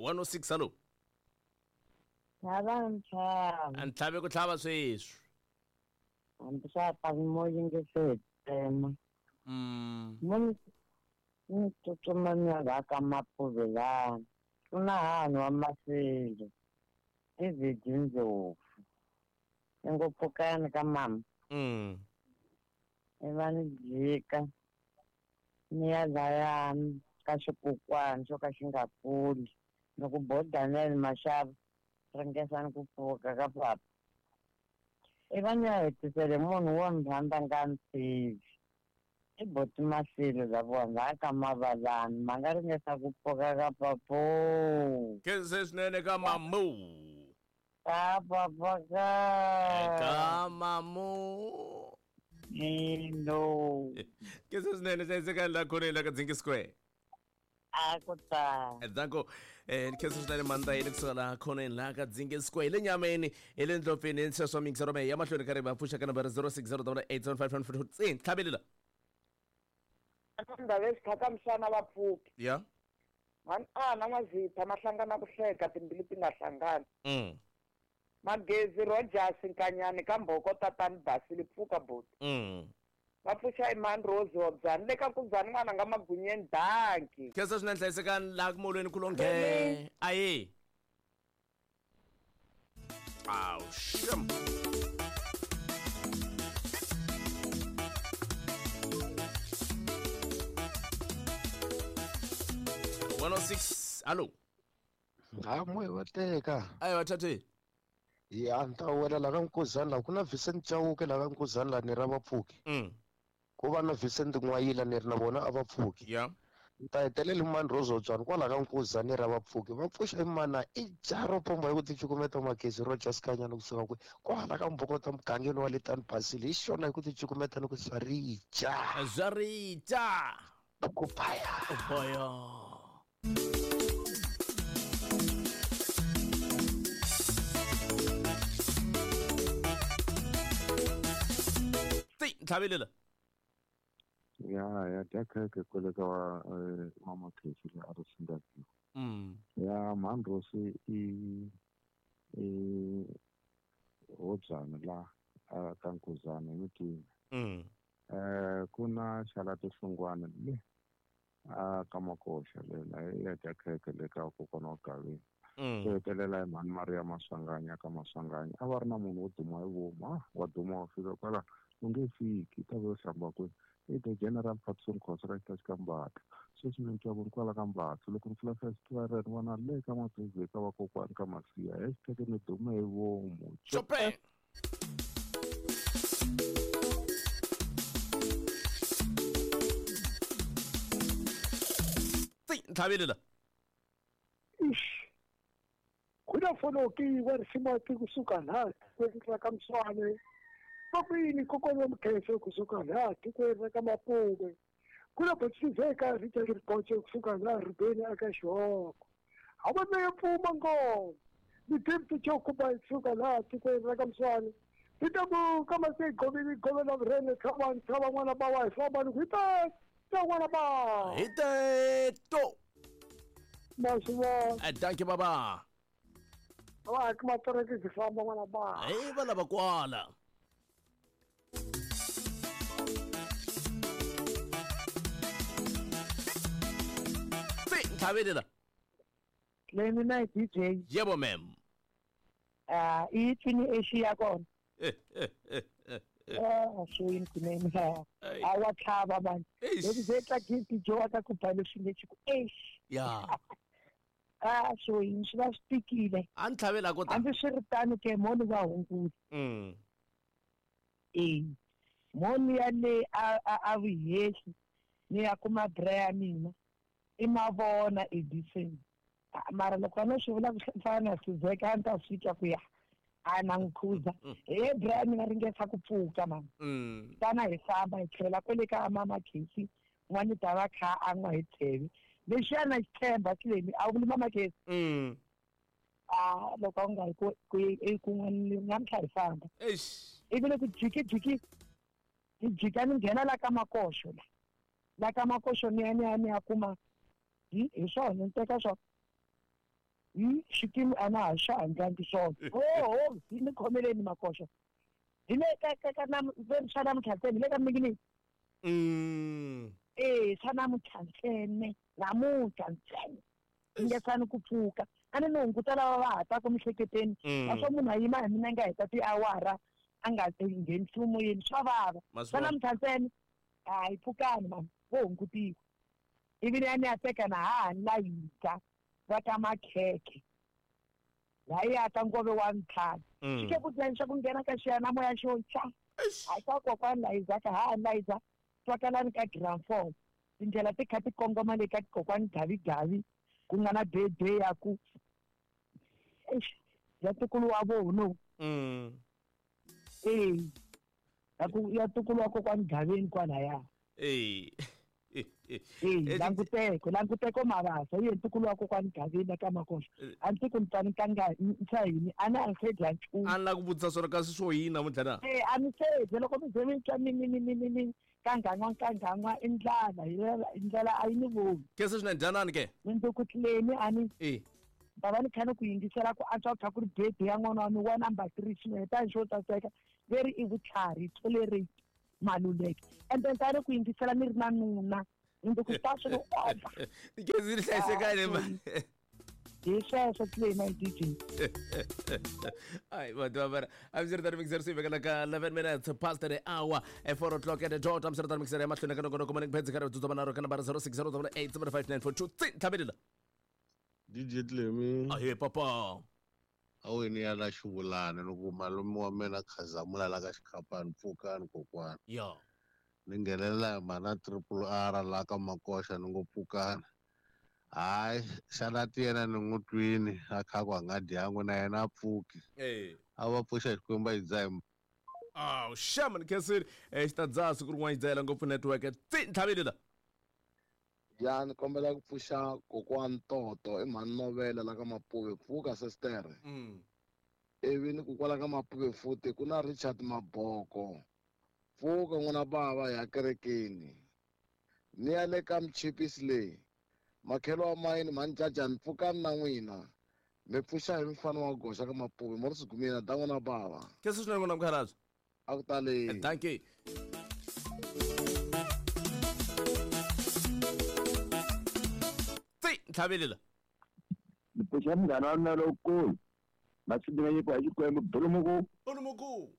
106 hallo. Tlhava ntlhava. A ntlhave ku tlhava sweswi. Hambi swa ta mo yingisela. Mo ni tsutsuma ni ya la ka Mapuvelana. Ku na hani wa Masilo. David Ndlovu. Ingopfukani ka mama. Iva ni jika. Ni ya laya ka xikokwani xo ka xi nga kuli. Loko bo Daniel Mashava ringesani ku pfuka ka papa. Iva ni ya hetisele munhu wo ni rhandza nga ni tivi. I boti Masilo la vona la ka Mavalani ma nga ringesa ku pfuka ka papo. Khense swinene ka mamu. Ka papa ka. Ka mamu. No. Khense swinene hlayisekani la khoneni la ka Dzingi Square. A ku ta. Danko khense swinene mandza yini kusuka laha khoneni laha ka Dzingi Square le nyameni hi le ndlopfeni sweswo mixero me ya mahlweni ka ri va pfuxa ka nambara 06087554 tlhavelela. Ndhawu exikhata misana va pfuki. Ya. Mhani a na n'wazitha ma hlangana ku hleka timbilu ti nga hlangani. Magezi Rogers Nkanyani ka Mboko tatani Basile pfuka boti. Va pfuxa Iman Rose Hobyani le ka Nkuzani n'wana nga magunyeni danki. Khensa swinene hlayisekani laha ku molweni kulonghe. Aye. Aw sham. Hallo. Ha moya wa teka. Ayi wa thathe. Ya ni ta wela la ka Nkuzani la ku na Vincent Chauke la ka Nkuzani la ni ra vapfuki. Ku va na Vincent N'wayila ni ri na vona a va pfuki. Ya. Ni ta hetelela mani Rose Otswana kwala ka Nkuzani ra vapfuki. Va pfuxa imana i jaro pomba hi ku ticukumeta Magezi Rogers Kanyana kusuka kwi kwala ka Mbokota mugangeni wa le Tani Basile hi xona hi ku ticukumeta ni ku swa rija. Swa rija. Ku baya. Baya. Ntlhavelela. Ya dya khekhe kwale ka mama Khesi le a ri Singapore. Ya mhani Rose i Hobyani la ka Nkuzani hi mitini. Ku na Xalati Hlungwane le ka Makoxa le la ya dya khekhe le ka kokwana wa Gaveni. Swi hetelela hi mhani Maria Maswanganyi ka Maswanganyi a va ri na munhu wo duma hi vomu wa duma wa fika kwala u nge fiki ta ve hlamba kwihi i the General Patson Khosa ka xitachi ka Mbatha sweswi ni twa ku ri kwala ka Mbatha loko ni pfula festival ni vona le ka Mabezi ka vakokwani ka Masiya hashtag ni dume hi vomu. Chopin. Ntlhavelela. Ish. Kuna fonoki wa risimu kusuka la tikweni ra ka Mswane. Pakwini kokwana wa Mkhense kusuka la tikweni ra ka Mapume. Kuna botsizeka Richard Ripoche kusuka la Rubeni aka Xihoko. Havana ya pfuma ngoma. Ni David Chokuba kusuka la tikweni ra ka Mswane. Titabu kama se govini govela vrene tsavan tsava n'wana ba wa famba ni ku ta n'wana ba. Hi teto. Maswa. Thank you baba. Wa kuma toreke ti famba n'wana ba. Hi va lava kwala. Ntlhavelela. Le mina DJ. Yebo ma'am. I twini Asia kona. So yini kunene. A wa tlhava mani. Loko ze tla gift jo ka ku bala swi nge ku eish. Ya. So yini swi va swi tikile. A ntlhavela ko ta. Hambi swi ri tano ke moni va hunguta. Moni ya le a vuhehli ni ya kuma bra ya mina. I mavona Edison. Mara loko a no swi vula ku fana na Sizeka a ni ta swi twa ku ya a na nkhuza. He bra mina ringesa ku pfuka mama. Tana hi famba hi tlhela kwale ka mama Khesi n'wana ta va kha a n'wa hi tsheve. Lexiya na xithemba xilemi a wu vuli mama Khesi. Loko a nga hi ku kun'wana namuntlha hi famba. Eish. Ivi loko jiki hi jika ni nghena la ka Makoxo la. La ka Makoxo ni ya ni ya kuma hi swona ni teka swona. Xikimu a na ha xa handlangi swona. Oho, ni khomeleni Makoxa. Hi le ka ka ka swa namuntlha ntsena, hi le ka minginini. Swa namuntlha ntsena, namuntlha ntsena. Ingesani ku pfuka. A ni hunguta lava va ha taku miehleketweni. Naswo munhu a yima hi minenge a heta tiawara a nga nghenisi moyeni, swa vava. Swa namuntlha ntsena, hayi pfukani mani, vo hungutiwa. Ivi ya ni ya teka na ha ni layita va ka makhekhe. La ya ka ngove wa ntlhanu. Xi ke ku dya ku nghena ka xiyanimoya xo tya. Hayi ka kokwani Layiza ka ha Layiza twakalani ka Gramford. Tindlela ti kha ti kongoma le ka kokwani Gavi-Gavi ku nga na birthday ya ku ya ntukulu wa vona. Ya ku ya ntukulu wa kokwani Gaveni kwalaya. Languteko Mabasa ye ntukulu wa kokwani Gaveni ka Makoxa. A ndzi ku ni kanga ntsayini a na ri dya nchumu. A la ku vutisa swona kasi swo yini namuntlha na? A ni se loko mi ze mi twa mi kangan'wa i ndlala, ndlela a yi ni voni. Ke se swinene dyanani ke? Mindzukutleni a ni va va ni kha ni ku yingisela ku antswa kha ku ri birthday ya n'wana wa mi wa number 3 swinene tani xo tsaseka veri i vutlhari tolerate Maluleke. And then tani ku yingisela ni ri na nuna ndzi ta swi over. Tikezi ri hlayisekile ma. Hi sweswo Clema DJ. Ai vanhu va a ndzi ri tani mixer swi vekela ka 11 minutes past the hour at 4 o'clock at the dot. I'm sure mixer ya mahlweni ka nongonoko morning phenzi ka tsutsuma na ro ka number 0608759423 tlhavelela. DJ Clemi. Ahe papa. Aweni ya la xivulana loko malume wa mina khazamula la ka xikhapani pfukani kokwana. Ya. Ni nghenelela mana triple R la ka Makoxa ni ngo pfukani. Hayi xana ti yena ni n'wi twini a kha ku a nga dyangu na yena a pfuki. A va pfuxa Xikwembu a yi dzaha. Aw, shaman khensile. Xi ta dzaha siku rin'wana yi dzahela ngopfu network. Tsi ntlhavelela. Ya ni kombela ku pfuxa kokwani Toto i mhani Novela la ka Mapuve pfuka sister. Ivi ni ku kwala ka Mapuve futhi ku na Richard Maboko. Pfuka n'wana bava ya kerekeni. Ni ya le ka mchipisi leyi. Makhelo wa mayini mhani Jajani pfukani na n'wina. Mi pfuxa hi mfana wa goxa ka Mapuve mo ri sigumina da n'wana bava. Khensa swinene n'wana mukhalabye. A ku tali. Thank you. Ntlhavelela. Ni pfuxa munghana wa mina lowukulu. Masindinganyiko ya Xikwembu Bulumuku. Bulumuku.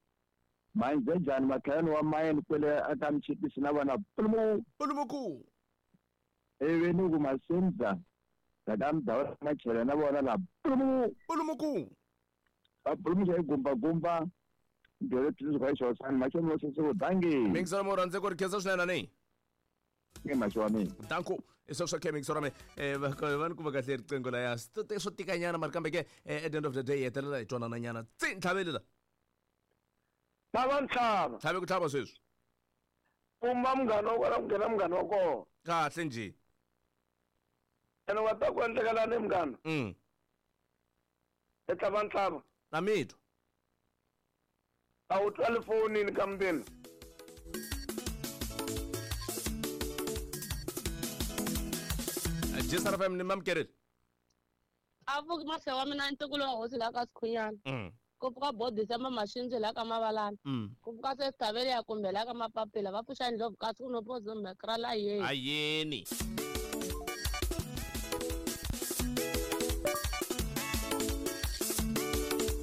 Manjejani makhayani wa mayini kwele aka mchipisi na vona Bulumuku. Bulumuku. Ivi ni ku Masimza ka mudhawu machele na vona la Bulumuku. Bulumuku. Va bulumuxa hi gumbagumba. Ndlela tsundzuka hi xosani machelo mo sese dangi. Mingisela mo rhandze ku ri khensa swinene ni. Ke macho wa mina. Danko. Isosho ke mixora me va ni ku va kahle riqingho la ya swo tikanyana mara kambe ke at the end of the day hetelela hi twanana nyana. Tsi ntlhavelela. Tlhava ntlhava. Tlhave ku tlhava sweswi. Pumba munghana wa kona ku nghena munghana wa kona. Kahle njhe. Ene wa ta ku endlekelani munghana? E tlhava ntlhava. Na mitwa. A wu twali fonini ka mundeni. Jisara FM ni mamkerile. A pfuki mahlo wa mina ntukulu wa hosi la ka Sikhunyana. Ku pfuka bodisa ma mashinzi la ka Mavalana. Ku pfuka se Thavele ya kumbe la ka Mapapila va pfuxa ndlopfu kasi ku no pozo mekra la yeni. Ayeni.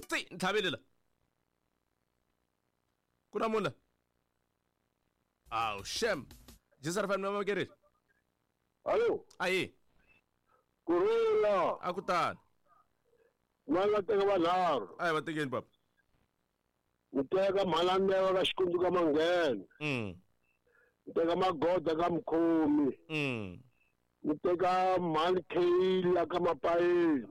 Tsi ntlhavelela. Ku na munhu la? Aw, shem. Jisara FM ni mamkerile. Allo. Ayi. Kurula. A ku tani. Mala teka vanharhu. Ayi va tekeni papa. Ni teka Mhalandewa ka Xikundzu ka Manghena. Ni teka Magoda ka Mkhomi. Ni teka Mhani Kheila ka Mapayeni.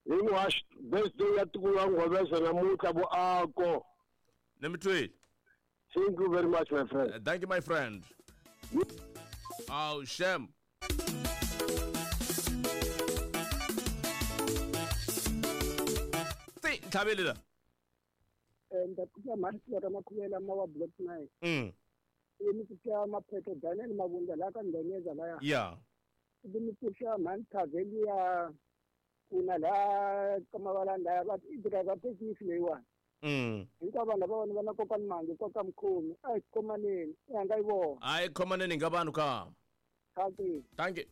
Hinkwaswo birthday ya tiko ra Ngwaveza namuntlha vuako. Ni mi twile. Thank you very much my friend. Thank you my friend. Oh, shem. Tsi ntlhavelela. Ndza pfuxa mhani Sivara Makhuvela ma wa Block 9. Ni pfuxa Maphetho Daniel Mavundla la ka Ndonyeza laya. Yeah. Ivi ni pfuxa mhani Thaveli ya Kuna laha ka Mavalani laya va i driver thekisi leyiwani. Hinkwavo vanhu lava vona va na kokani Mangi koka Mkhomi a hi khomaneni i hanga yi vona. A hi khomaneni nga vanhu ka. Thank you. Thank you.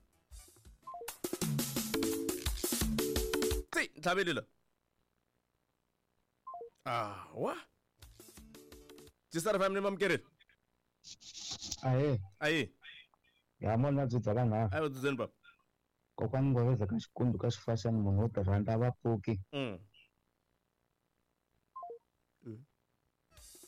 Tsi, ntlhaveli la. Ah, wa? Jisara family mamkerile. Ahe. Ahe. Ya mona byi dzaka nga. Ayi dzudzeni baba. Kokwani Ngoveza ka xikundu ka xifashani munhu wo tirhandza va pfuki.